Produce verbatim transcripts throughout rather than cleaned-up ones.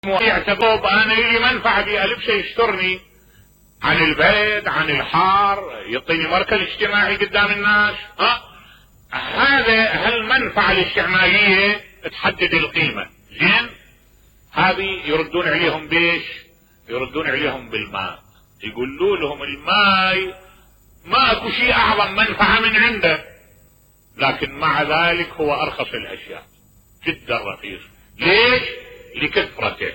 يعتقد انا لي منفعة بألبسه يسترني عن البرد عن الحار، يعطيني مركز اجتماعي قدام الناس. ها هذا هالمنفعة الاستعمالية تحدد القيمة. زين، هذه يردون عليهم بيش؟ يردون عليهم بالماء. يقولوا لهم الماء ما اكو شيء اعظم منفعة من عنده، لكن مع ذلك هو ارخص الاشياء جدا رخيص. ليش؟ لكثرته.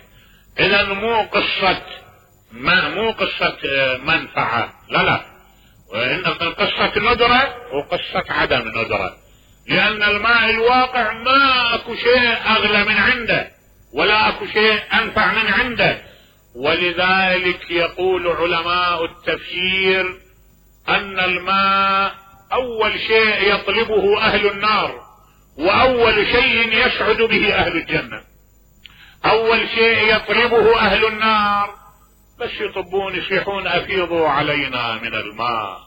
اذا مو قصة ما مو قصة منفعة، لا لا، وإن قصة ندرة وقصة عدم ندرة، لأن الماء الواقع ما أكو شيء أغلى من عنده ولا أكو شيء أنفع من عنده. ولذلك يقول علماء التفسير أن الماء أول شيء يطلبه أهل النار وأول شيء يسعد به أهل الجنة. أول شيء يطلبه أهل النار بس يطبون يصيحون أفيضوا علينا من الماء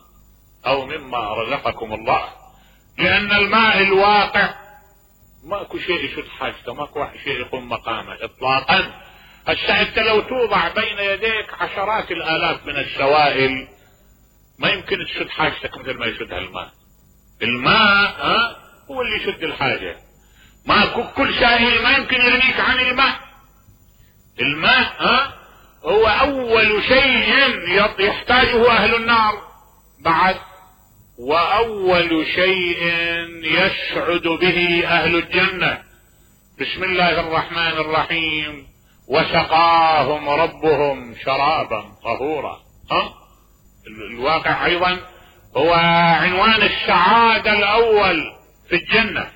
أو مما رزقكم الله، لأن الماء الواقع ماكو شيء يشد حاجته، ماكو شيء يقوم مقامه إطلاقا. هسه أنت لو توضع بين يديك عشرات الآلاف من السوائل ما يمكن تشد حاجتك مثل ما يشدها الماء. الماء ها هو اللي يشد الحاجة، ماكو كل سائل ما يمكن يغنيك عن الماء. الماء ها هو أول شيء يحتاجه أهل النار بعد، وأول شيء يسعد به أهل الجنة. بسم الله الرحمن الرحيم: وسقاهم ربهم شرابا طهورا. ها الواقع أيضا هو عنوان السعادة الأول في الجنة.